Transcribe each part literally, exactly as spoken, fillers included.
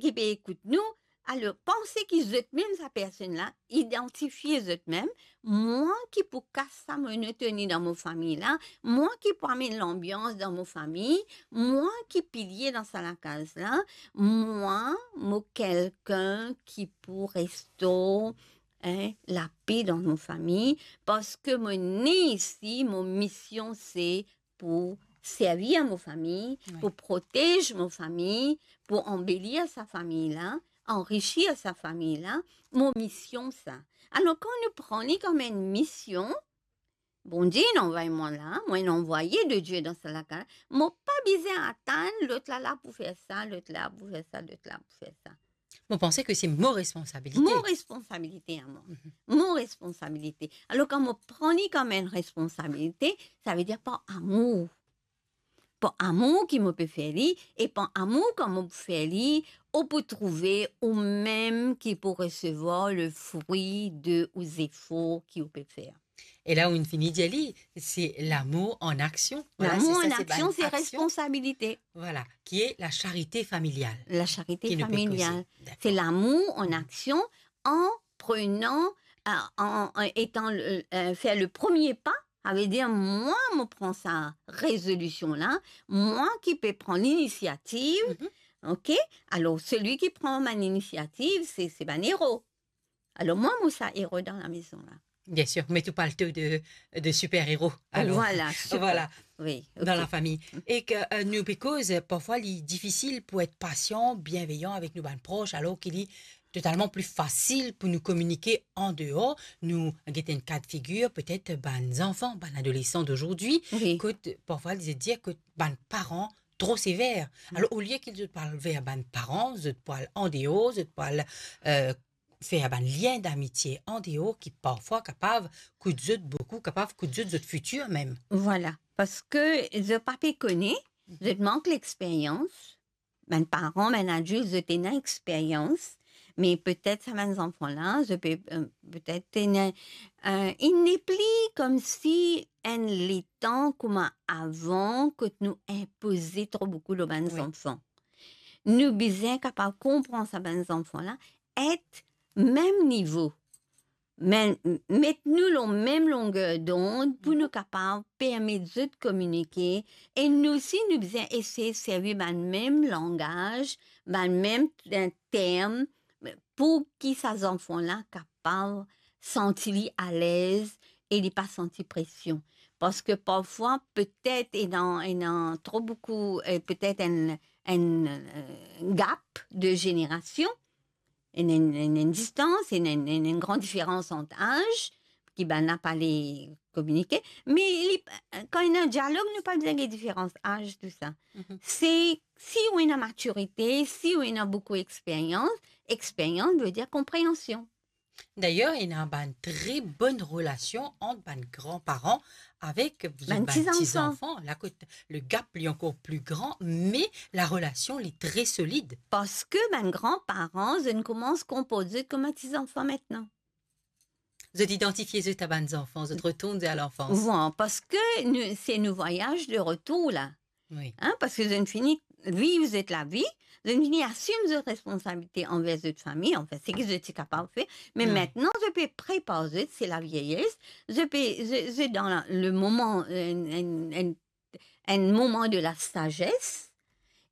ki pe ekout nou, alor, panse ki zot mem sa personn la, idantifie zot mem, mwa ki pou kas sa monotoni dan mo fami la, mwa ki pou amenn lanbians dan mo fami, mwa ki pilie dan sa lakaz la, mwa, mo kelkin ki pou restor, hein, lape dan mo fami, parski mo ne isi, mo mision se pou servi mo fami, wi, pou protez mo fami, pou anbelir sa fami la, anrisir sa fami la, mo mision sa. Alor, kan nou pran li kom enn mision, Bondie inn anvway mwa la, mwa enn anvwaye de Die dan sa lakaz, mo pa bizin atann lot la la pou fer sa, lot la pou fer sa, lot la pou fer sa. Mo panse ki se mo responsabilite. Mo responsabilite a mwa. Mhm. Mo responsabilite. Alor, kan mo pran li kom enn responsabilite, savedir par amour. Par amour ki mo pe fer li, e par amour kan mo fer li, ou pou trouve ou mem ki pou resevwar le fri de ou zefor ki ou pe fer. E la ou fini dir li, se lamour an aksion. Vwala, lamour an aksion, se responsabilite. Vwala, ki e la charite familial. La charite familial. Se lamour an aksion, an prenan, an, an, an etan, euh, euh, fer le premie pa, savedir mwa, mo pran sa rezolision la, mwa ki pe pran linisiativ, mhm, ok? Alor, seli ki pran bann inisiativ, se, se bann ero. Alor, mwa, mo sa ero dan lamezon la. Biensir, met ou palto de, de siper ero, alor. Vwala, siper. Vwala. Wi, ok. Dan lafami. E ki, euh, nou pe koz, parfwa, li difisil pou et pasian, bienveyan avek nou bann pros, alor ki li totalman pli fasil pou nou kominike an deor. Nou get enn ka de figir, petet bann zanfan, bann adolesan dozordi, wi, kot parfwa, li dir kot bann paran tro sever. Mm. Alor, olie ki zot pou al ver bann paran, zot pou al an deor, zot pou al, euh, fer bann lien damitie an deor ki parfwa kapav kout zot boukou, kapav kout zot, zot fitir mem. Vwala, parski zot pa pe kone, mhm, zot mank lexperyans. Bann paran, bann adilt, zot ena experyans, me petet sa bann zanfan la, zot pe, euh, petet ena, euh, inn nepli koumsi enn letan kouma avan, kot nou inpoze tro boukou lor bann, wi, zanfan. Nou bizin kapav konpran sa bann zanfan la, et mem nivo. Me, met nou lor mem longer dond pou nou kapav permet zot kominike, e nou osi nou bizin esey servi bann mem langaz, bann mem, eh, term, pou ki sa zanfan la kapav santi li alez e li pa santi presion. Parski parfwa, petet, ena, ena tro boukou, eh, petet enn, enn, eh, gap de zenerasion, ena enn, enn, enn distans, ena enn, enn, enn gran diferans ant az, ki bann la pa le kominike, me li, kan ena dialog, nou pa bizin get diferans az, tou sa. Mhm. Se, si ou ena matirite, si ou ena boukou experyans, experyans ve dir konpreansion. Dayer, ena bann tre bonn relasion ant bann granparan avek zot bann ti zanfan. Bann ti zanfan. La kot le gap li ankor pli gran, me la relasion li tre solid. Parski bann granparan, zot inn koumans konport zot kouma ti zanfan aster. Zot idantifie zot a bann zanfan, zot retourn a lanfans. Wi, parski nou, se nou vwayaz de retour la. Wi. Hein, parski zot inn fini viv zot lavi, zot inn fini asim zot responsabilite anver zot fami, anfin, seki zot ti kapav fer. Me, hmm, aster, zot pe prepar zot, se lavieyes, zot pe, zot, zot dan la, le moman, enn, enn, enn, enn moman de la sazes,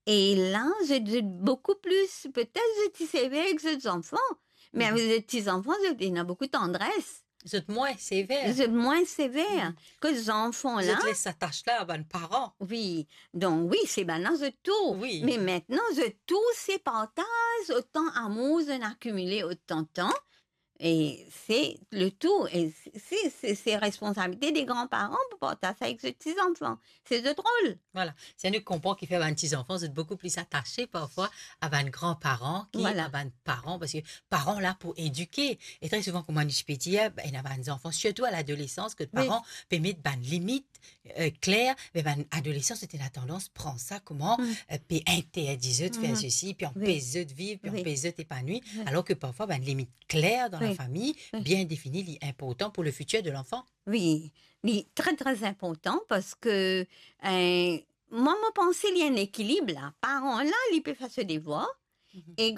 e la, zot, zot boukou pli, petet zot ti sever ek zot zanfan, me, mhm, avek zot ti zanfan, zot ena boukou tandres. Zot mwin sever. Zot mwin sever. Mm. Kot zanfan la. Zot les sa tas la a bann paran. Wi. Donk, wi, se bann la zot tour. Wi. Me aster, zot tour, se partaz otan amour zot inn akimile otan tan. E se le tour. E se, se, se, se responsabilite de granparan pou partaz sa avek zot ti zanfan. Se zot rol. Vwala. Si nou konpran kifer bann ti zanfan, zot boukou pli atase parfwa a bann granparan ki, vwala, a bann paran, parski paran la pou edike. E tre souvan, kouma nou ti pe dir, be, ena bann zanfan, sirtou a ladolesans, kot, wi, paran pe met bann limit, eh, kler, me bann adolesan, zot ena tandans pran sa kouma, mm, eh, pe interdi zot fer, mhm, sesi, pe, wi, anpes zot viv, pe, wi, anpes zot epanwi, wi, alor ki parfwa bann limit kler dan, wi, lafami, wi, bien defini, li inportan pou le fitir de lanfan. Wi, li tre, tre inportan parski, eh, mwa, mo panse li enn ekilib la. Paran la, li pe fer so devwar, mhm, e